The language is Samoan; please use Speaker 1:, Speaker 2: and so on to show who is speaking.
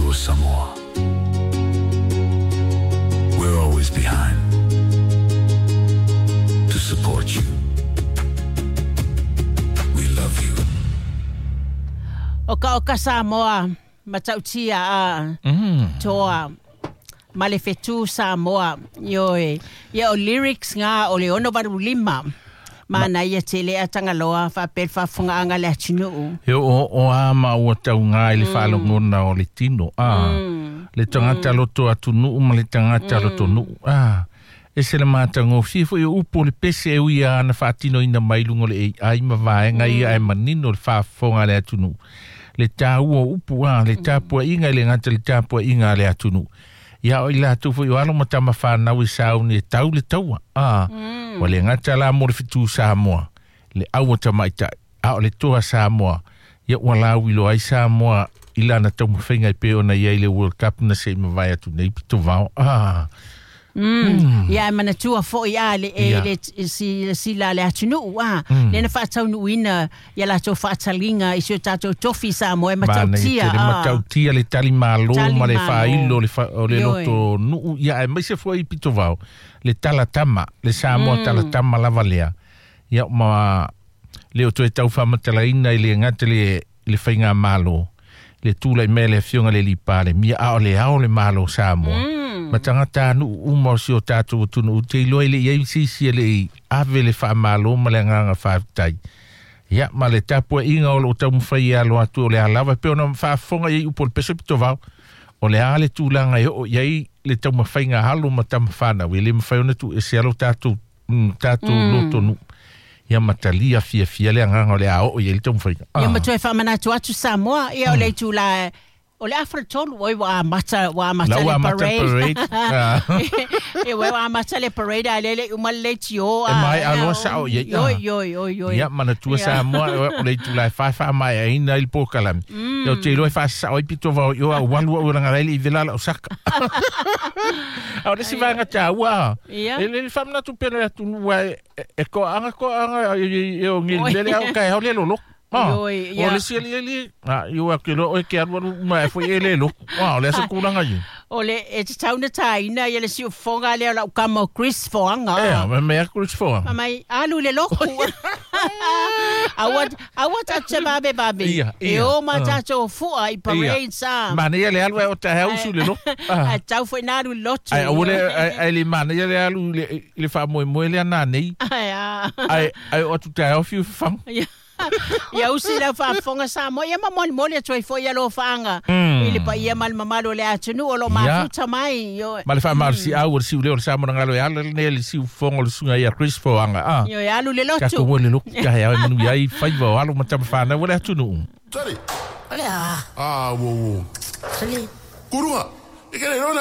Speaker 1: Toa Samoa. We're always behind to support you. We love you.
Speaker 2: O ka o ka Samoa, matautia a toa ma le fetu Samoa. Ioe. Ia o lyrics ngā o le 685. Mana ia tele a Tangaloa faapea le faafofogaaga a le atunuu.
Speaker 3: He o o a ma ua tauga i le faalogona o le tino a le tagata loto atunuu ma le tagata loto nuu a e se le matagofie foi o upu o le pese e ui a ana faatinoina mai luga o le AI ma vaega ia ae manino le faafofoga a le atunuu le tāua o upu a le tapuaʻiga i le gata le tapuaʻiga a le atunuu ia o i latou foi o alo ma tama fanau e sauni e tau le taua a ua le gata la mo le fetū Samoa le aua tamaitai a o le toa Samoa ia ua lauiloa ai Samoa i lana taumafaiga e pei ona iai le World Cup na se i mavae atu nei pitovao a.
Speaker 2: Ia e manatua foi a le e
Speaker 3: Ia.
Speaker 2: le si sila le atunuu a le na faataunuuina ia latou faataliga i si o tatou tofi Samoa e
Speaker 3: Manaia
Speaker 2: matautia
Speaker 3: tele
Speaker 2: a.
Speaker 3: matautia le talimalo
Speaker 2: Tali
Speaker 3: ma le
Speaker 2: malo.
Speaker 3: faailo o le fa- o le
Speaker 2: Ioe.
Speaker 3: loto nuu ia aemaise foi i pitovao le talatama le Samoa talatama lava lea ia ma le o toe tau faamatalaina i le gata le le faigamalo le tula'i mai le afioga le Palemia a o le ao le malo o Samoa ma tagata anuʻu uma o si o tatou atunuu te iloa i le i ai se isi e leʻi ave le faamālō ma le agaga faafetai ia ma le tapuaʻiga o loo taumafai e alo atu o le a lava e pei ona faafofoga iai upu o le peso pitovao o le a le tulaga e oo iai le taumafaiga alo ma tamafanau e lē mafai ona tuuese alo tatou tatou lotonuu ia ma talia fiafia le agaga o le a oo iai le taumafaiga
Speaker 2: Ia ma
Speaker 3: ah.
Speaker 2: toe faamanatu atu Samoa ia o le itulā o le 3:30 oi ua amata ua amata
Speaker 3: La
Speaker 2: le
Speaker 3: ua amata
Speaker 2: parade.
Speaker 3: parade. Ah.
Speaker 2: E ua amata le parade a lele uma le leitio
Speaker 3: E
Speaker 2: a.
Speaker 3: mai aloa sao iai
Speaker 2: Oi
Speaker 3: ah.
Speaker 2: oi oi oi.
Speaker 3: Ia manatua
Speaker 2: Ia.
Speaker 3: Samoa o le itulā e faefaa maeaina i le pokalame ia o te iloa e faasasao ai pitovao i o au alu au laga lai le i vela lau saka a o le isi vaega tāua
Speaker 2: Ia.
Speaker 3: e le faamanatu pea le atunuu ae e koaaga koaaga e o
Speaker 2: Oi.
Speaker 3: gelime le au kae ao le loloku Ah,
Speaker 2: Oi,
Speaker 3: o
Speaker 2: ia.
Speaker 3: le isi aliali a i o ake loa oe ke alualu uma e foi e le loku ah, o le asa kulaga ia
Speaker 2: O le e tatau na tāina ia le siufofoga lea o lau kama o Chris Foanga.
Speaker 3: e ma mea Chris Foanga
Speaker 2: Ma mai alu le loku. Aua aua tatou se vave vave.
Speaker 3: Ia,
Speaker 2: E
Speaker 3: ia.
Speaker 2: o ma
Speaker 3: Ah.
Speaker 2: tatou fua i parade sa.
Speaker 3: Manaia le alu ai o taeao usu le loku ah.
Speaker 2: A tau foi na alu i le lotu.
Speaker 3: Ai aua le ai ai le manaia le alu i le i le faamoemoe lea nanei
Speaker 2: Ai a.
Speaker 3: ai ai o atu taeao fiu fafaga
Speaker 2: Ia ia usi lau faafofoga Samoa ia ma molimoli atu ai foi ia alofaaga i le paia ma le mamalu o le atunuu o loo
Speaker 3: Ia.
Speaker 2: mafuta mai. Ioe.
Speaker 3: Ma le faamalosiau o le siulea o le Samoa e ala lenei le siufofoga o le susuga ia Chris Foanga ah.
Speaker 2: Ioe alu le lotu.
Speaker 3: Tatou ua le loku taeao e manuia ai faiva o alo ma tamafanau o le atunuu.
Speaker 4: Tali.
Speaker 5: O le a.
Speaker 4: Ah, wo wo.
Speaker 5: Sole.
Speaker 4: Kurunga. E ke le lona